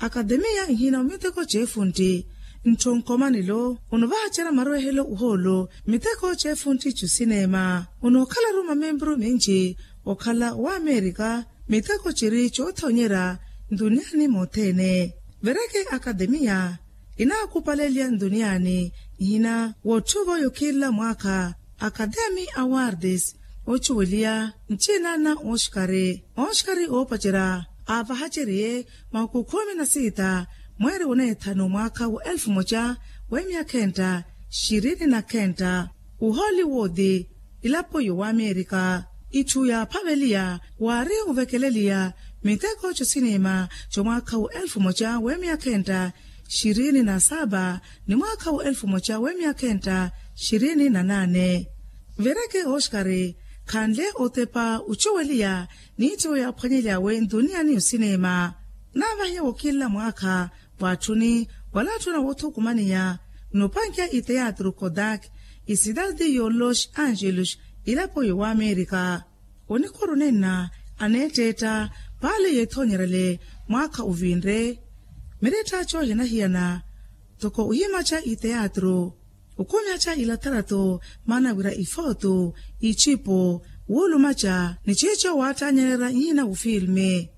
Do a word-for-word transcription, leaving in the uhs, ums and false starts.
akatemiya nhina omiteko cefuntti ntthu nkomanelo onovahacerya marwehelo uhoolo miteko cefuntti cusinema. Onookhalaru mamempuru minci okhala wa amerika miteko ciri coothonyerya ntuniani mothene. Vereke akatemiya inaakupaleliya ntuniani nhina wootthuva oyo khila mwaakha akatemi awardes ocuweliya ncina na oskari. Oskari oopacerya aavahaceriye mahuku khumi na sita mweeri woneethanu mwaakha wa elfu moca wemiyakhentta xirini na khentta. Ohollywood ilapo yowamerika itthu yaaphaveliya waari ovekeleliya miteko cosinima comwaakha wa elfu moca wemiyakhentta xirini na saba ni mwaakha wa elfu moca wemiyakhentta xirini na nane. Vereke oskari khanle otepa ocuweliya niitthiwo yaaphwanyelyawe ntuniya ni osinima. Naavahiya wokinla mwaakha waatthuni wala atthuna woothukumaniya nopankiya iteyatru kodak isidadi yo los angeles ilapo yowamerika. Onikuru nenna aneetteetta paale yeethoonyerele mwaakha ovinre. Mireetta coohinahiyana toko ohimaca iteyatru okhumyaca ilatarato maana wira ifooto icipo wuulumaca ni ciico waattanyelela nhina wufilme.